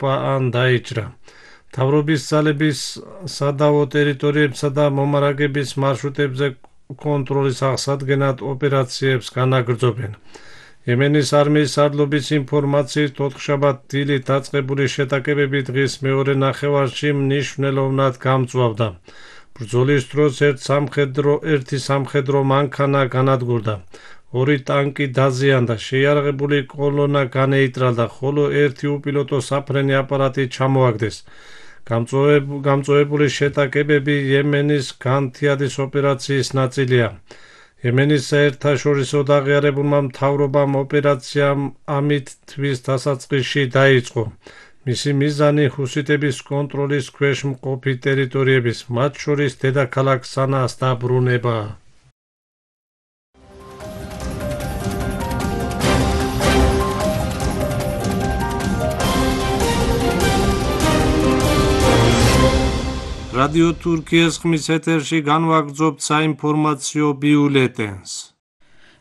დაიღუპა ან დაიჭრა. მთავრობის ძალების სადავო ტერიტორიებსა და მომარაგების მარშრუტებზე კონტროლის აღსადგენად ოპერაციებს განაგრძობენ. იემენის არმიის სარდლობის ინფორმაციით 4-შაბათ დილით დაწყებული შეტაკებები დღის მეორე ნახევარში მნიშვნელოვნად გამწვავდა. ბრძოლის დროს ერთი სამხედრო მანქანა განადგურდა, 2 ტანკი დაზიანდა, შეიარაღებული კოლონა განეიტრალდა, ხოლო 1 უპილოტო საფრენი აპარატი ჩამოაგდეს. გამწვავებული შეტაკებები იემენის განთიადის ოპერაციის ნაწილია. იემენის საერთაშორისო დაღიარებულმა მთავრობამ ოპერაციამ ამით თვის დასაწყისში დაიწყო. მისი მიზანი ჰუსიტების კონტროლის ქვეშ მყოფი ტერიტორიების, მათ შორის დედაქალაქ სანაას დაბრუნებაა. რადიო თურქიის ხმის ეთერში განვაგრძობთ საინფორმაციო ბიულეტენს.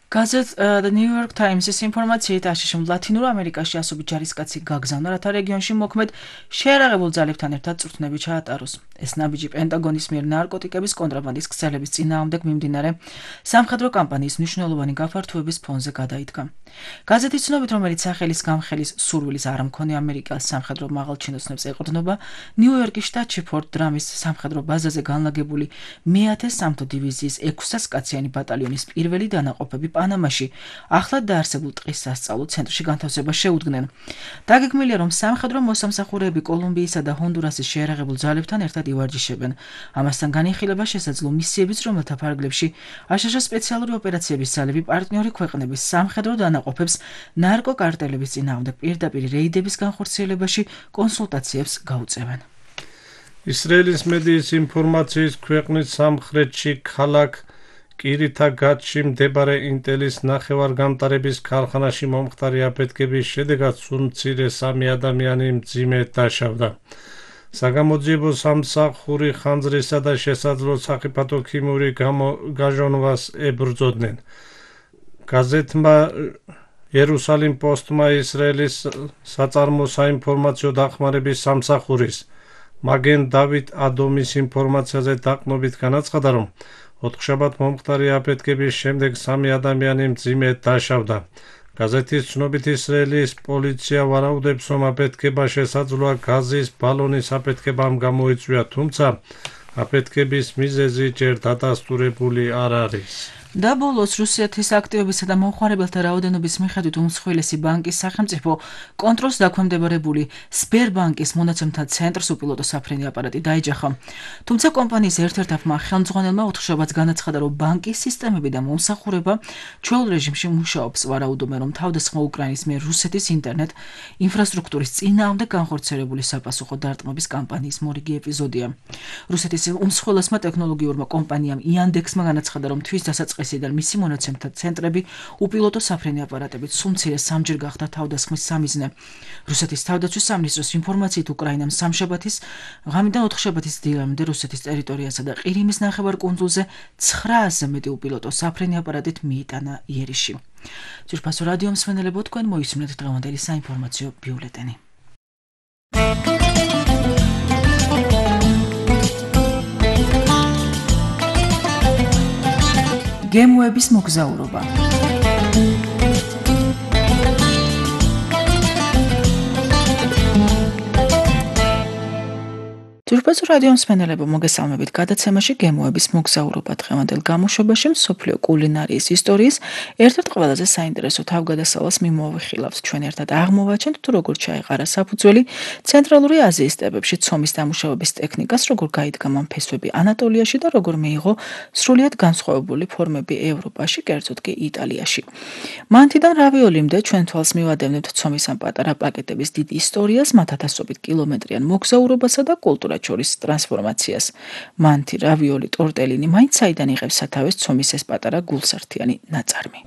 Gazet The New York Times-ის ინფორმაციით აშშ ლათინურ ამერიკაში ასობით ჯარისკაცი გაგზავნა, რათა რეგიონში მოქმედ შეიარაღებულ ძალებთან ერთად წვრთნები ჩაატაროს. ეს ნაბიჯი პენტაგონის მიერ ნარკოტიკების კონტრაბანდის ქსელების წინააღმდეგ მიმდინარე სამხედრო კამპანიის მნიშვნელოვანი გაფართოების ფონზე გადაიდგა. გაზეთის ცნობით, რომელიც სახელის გამხელის სურვილის არ მქონე ამერიკელ სამხედრო მაღალჩინოსნებს ეყრდნობა, ნიუ-იორკის შტატში ფორტ დრამის სამხედრო ბაზაზე განლაგებული მე-10 სამთო დივიზიის 600 კაციანი ბატალიონის პირველი დანაყოფები პანამაში ახლად დაარსებულ ტყის სასწავლო ცენტრში განთავსებას შეუდგნენ. დაგეგმილია, რომ სამხედრო მოსამსახურეები კოლუმბიისა და ჰონდურასის შეიარაღებულ ძალებთან ერთად ივარჯიშებენ. ამასთან განიხილება შესაძლო მისიებიც, რომელთა ფარგლებში აშშ სპეციალური ოპერაციების ძალები პარტნიორი ქვეყნების სამხედრო დანაყოფებს ნარკოკარტელების წინააღმდეგ პირდაპირ რეიდების განხორციელებაში კონსულტაციებს გაუწევენ. ისრაელის მედიის ინფორმაციით ქვეყნის სამხრეთში ქალაქ კირითა-გატში მდებარე ინტელის ნახევარგამტარების ქარხანაში მომხდარი აფეთქების შედეგად სულ მცირე 3 ადამიანი მძიმედ დაშავდა. საგამოძიებო სამსახური ხანძრისა და შესაძლო სახიფათო ქიმიური გაჟონვას ებრძოდნენ. გაზეთმა იერუსალიმ პოსტმა ისრაელის საწარმო საინფორმაციო დახმარების სამსახურის მაგენ დავით ადომის ინფორმაციაზე დაყნობით განაცხადა, რომ 4-შაბათ მომხდარი აფეთქების შემდეგ 3 ადამიანი მძიმედ დაშავდა. გაზეთის ცნობით ისრაელის პოლიცია ვარაუდებს, რომ აფეთქება შესაძლოა გაზის ბალონის აფეთქებამ გამოიწვია, თუმცა აფეთქების მიზეზი ჯერ დადასტურებული არ არის. და ბოლოს რუსეთის აქტივებისა და მომხმარებელთა რაოდენობის მიხედვით უმსხვილესი ბანკის სახელმწიფო კონტროლს დაქვემდებარებული სბერბანკის მონაცემთა ცენტრს უპილოტო საფრენი აპარატი დაიჯახა. თუმცა კომპანიის ერთ-ერთმა ხელმძღვანელმა 4-შაბათს განაცხადა, რომ ბანკის სისტემები და მომსახურება ჩვეულ რეჟიმში მუშაობს. ვარაუდობენ, რომ თავდასხმა უკრაინის მიერ რუსეთის ინტერნეტ ინფრასტრუქტურის წინააღმდეგ განხორციელებული sapasukho დარტყმების კამპანიის მორიგი ეპიზოდია. რუსეთის უმსხვილესმა ტექნოლოგიურმა კომპანიამ იანდექსმა განაცხადა, რომ თვის დასაწყისიდან მისი მონაცემთა ცენტრები უპილოტო საფრენი აპარატებით სულ მცირე 3-ჯერ გახდა თავდასხმის სამიზნე. რუსეთის თავდაცვის სამინისტროს ინფორმაციით უკრაინამ სამშაბათის ღამიდან 4-შაბათის დილამდე რუსეთის ტერიტორიასა და ყირიმის ნახევარკუნძულზე 900-ზე მეტი უპილოტო საფრენი აპარატით მიიტანა იერიში. ძვირფასო რადიო მსმენელებო, თქვენ მოისმინეთ დღევანდელი საინფორმაციო ბიულეტენი. გემოების მოგზაურობა. ძვირფასო რადიო მსმენელებო, მოგესალმებით გადაცემაში გემოების მოგზაურობა. დღევანდელ გამოშვებაში მსოფლიო კულინარიის ისტორიის ერთ-ერთ ყველაზე საინტერესო თავგადასავალს მიმოვიხილავთ. ჩვენ ერთად აღმოვაჩენთ, თუ როგორ ჩაეყარა საფუძველი ცენტრალური აზიის სტეპებში ცომის დამუშავების ტექნიკას, როგორ გაიდგა მან ფესვები ანატოლიაში და როგორ მიიღო სრულიად განსხვავებული ფორმები ევროპაში, კერძოდ კი იტალიაში. მანთიდან რავიოლიმდე ჩვენ თვალს მივადევნებთ ცომის ამ პატარა პაკეტების დიდ ისტორიას, მათ ათასობით კილომეტრიან მოგზაურობასა და კულტურას შორის ტრანსფორმაციას. მანთი, რავიოლი, ტორტელინი, მაინც საიდან იღებს სათავეს ცომის ეს პატარა გულსართიანი ნაწარმი.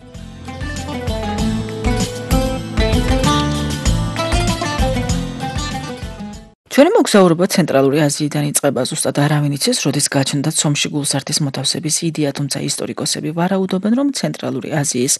ჩვენი მოგზაურობა ცენტრალური აზიიდან იწყება, ზუსტად არავინ იცის, როდის გაჩნდა ცომში გულსართის მოთავსების იდეა, თუმცა ისტორიკოსები ვარაუდობენ, რომ ცენტრალური აზიის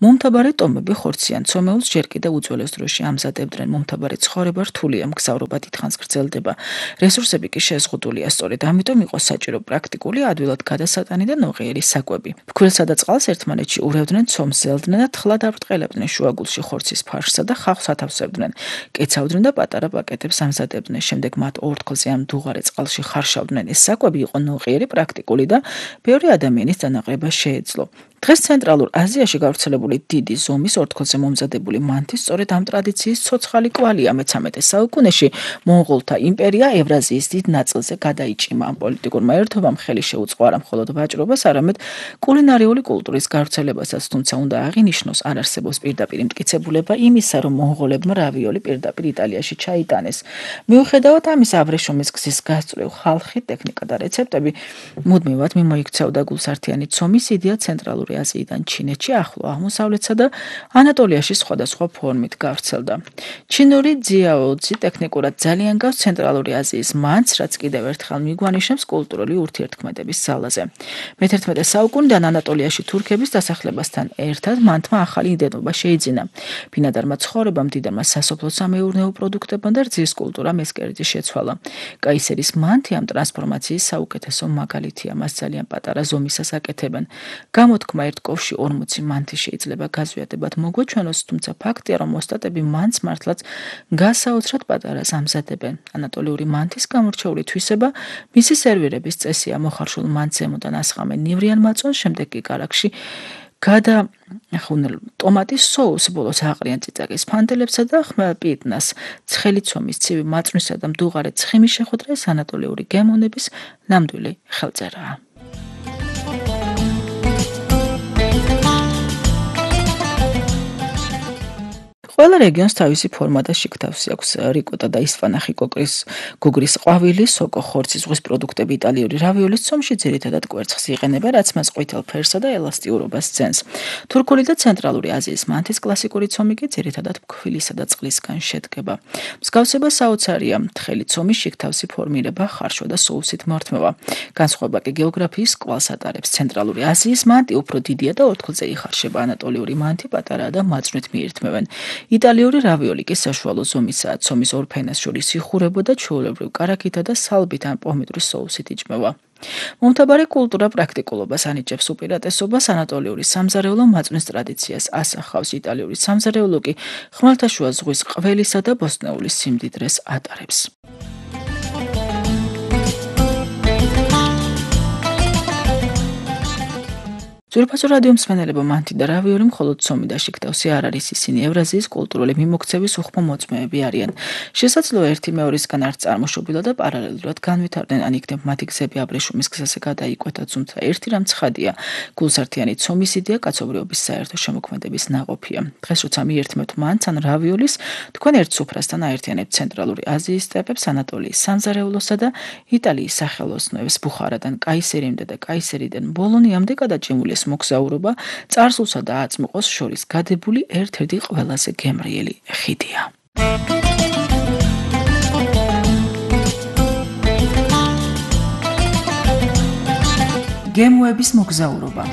მომთაბარე ტომები ხორციან ცომეულს ჯერ კიდევ უძველეს დროში ამზადებდნენ. მომთაბარე ცხოვრება რთულია, მგზავრობა დიდხანს გრძელდება. რესურსები კი შეზღუდულია, სწორედ ამიტომ იყო საჭირო პრაქტიკული, ადვილად გადასატანი და ნოყიერი საკვები. ფქვილსა და წყალს ერთმანეთში ურევდნენ, ცომს ზელდნენ და თხლად აფრტყელებდნენ, შუაგულში ხორცის ფარშსა და ხავსს ათავსებდნენ. კეცავდნენ და პატარა პაკეტებს ამზადებდნენ. შემდეგ მათ ორთქლზე ამ დუღარე წყალში ხარშავდნენ. ეს საკვები იყო ნოყიერი, პრაქტიკული და ბევრი ადამიანის დანაყრება შეეძლო. დღეს ცენტრალურ აზიაში გავრცელებული დიდი ზომის ორთქლზე მომზადებული მანთი სწორედ ამ ტრადიციის ცოცხალი კვალია. მე-13 საუკუნეში მონღოლთა იმპერია ევრაზიის დიდ ნაწილზე გადაიჭიმა. ამ პოლიტიკურმა ერთობამ ხელი შეუწყო არა მხოლოდ ვაჭრობას, არამედ კულინარიული კულტურის გავრცელებასაც, თუმცა უნდა აღინიშნოს, არ არსებობს პირდაპირ მტკიცებულება იმისა, რომ მონღოლებმა რავიოლი პირდაპირ იტალიაში ჩაიტანეს. მიუხედავად ამისა, აბრეშუმის გზის გასწვრივ ხალხი, ტექნიკა და რეცეპტები მუდმივად მიმოიქცეოდა გულსართიანი ცომის იდეა ცენტრალურ აზიიდან ჩინეთში, ახლო აღმოსავლეთსა და ანატოლიაში სხვადასხვა ფორმით გავრცელდა. ჩინური ძიაოძი ტექნიკურად ძალიან გავს ცენტრალური აზიის მანთს, რაც კიდევ ერთხელ მიგვანიშნებს კულტურული ურთიერთქმედების ძალაზე. მე-11 საუკუნიდან ანატოლიაში თურქების დასახლებასთან ერთად მანთმა ახალი იდენტობა შეიძინა. ბინადარმა ცხოვრებამ, მდიდარმა სასოფლო-სამეურნეო პროდუქტებმა და რძის კულტურამ ეს კერძი შეცვალა. კაისერის მანთი ამ ტრანსფორმაციის საუკეთესო მაგალითია, მას ძალიან პატარა ზომისას აკეთებენ. გამოთქმა ერთ ковში 40 მანთი შეიძლება გაზვიადებად მოგვეჩვენოს, თუმცა ფაქტია, რომ ოსტატები მანთს მართლაც გასაოცრად პატარას ამზადებენ. ანატოლიური მანთის გამორჩეული თვისება მისი სერვირების წესია. მოხარშულ მანთს ზემოდან ასხამენ ნივრიან მაწვანს, შემდეგ კი კარაქში გადახუნულ ტომატის სოუსს, ბოლოს აყრიან წიწაკის ფანტელებსა და ხმელპიტნას. ცხელი ცომის, ცივი მაწვნისა და მდუღარე ცხიმის შეხვედრა ანატოლიური გემოვნების ნამდვილი ხელწერაა. ყველა რეგიონს თავისი ფორმა და შიგთავსი აქვს. რიკოტა და ისპანახი გოგრის ყვავილი, სოკო, ხორცი, ზღვის პროდუქტები, იტალიური რავიოლის ცომში ძირითადად კვერცხს იყენება, რაც მას ყვითელ ფერსა და ელასტიურობას ძენს. თურქული და ცენტრალური აზიის მანთის კლასიკური ცომი კი ძირითადად ფქვილისა და წყლისგან შედგება. მსგავსება საოცარია, თხელი ცომის შიგთავსი ფორმირება, ხარშვა და სოუსით მორთმევა. განსხვავება კი გეოგრაფიის კვალს ატარებს. ცენტრალური აზიის მანთი უფრო დიდია და ორთქლზე იხარშება, ანატოლიური მანთი პატარაა და მაწვნით მიირთმევენ. იტალიური რავიოლი კი საშუალო ზომისაა, ცომის ორ ფენას შორის იხურებოდა, ჩვეულებრივ კარაქითა და სალბით ან პომიდორის სოუსით იჭმევა. მომთაბარე კულტურა პრაქტიკულობას ანიჭებს უპირატესობას, ანატოლიური სამზარეულო მაწვნის ტრადიციას ასახავს, იტალიური სამზარეულო კი ხმელთაშუა ზღვის ყველისა და ბოსტნეულის სიმდიდრეს ატარებს. ძვირფასო რადიო მსმენელებო, მანთი და რავიოლი მხოლოდ ცომი და შიგთავსი არ არის, ისინი ევრაზიის კულტურული მიმოქცევის უხმო მოწმეები არიან. შესაძლოა ერთი მეორისგან არ წარმოშობილად და პარალელურად განვითარდნენ, ან იქნებ მათი გზები აბრეშუმის გზაზე გადაიკვეთა, თუმცა ერთი რამ ცხადია, გულსართიანი ცომის იდეა კაცობრიობის საერთო შემოქმედების ნაყოფია. დღეს როცა მიერთმევთ მანთს ან რავიოლის, თქვენ ერთ სუფრასთან აერთიანებთ ცენტრალური აზიის სტეპებს, ანატოლიის სამზარეულოსა და იტალიის სახელოსნოებს, ბუხარადან კაისერიმდე და კაისერიდან ბოლონიამდე გადაჭიმული მოგზაურობა წარსულსა და აწმყოს შორის გადებული ერთ-ერთი ყველაზე გემრიელი ხიდია. გემოების მოგზაურობა.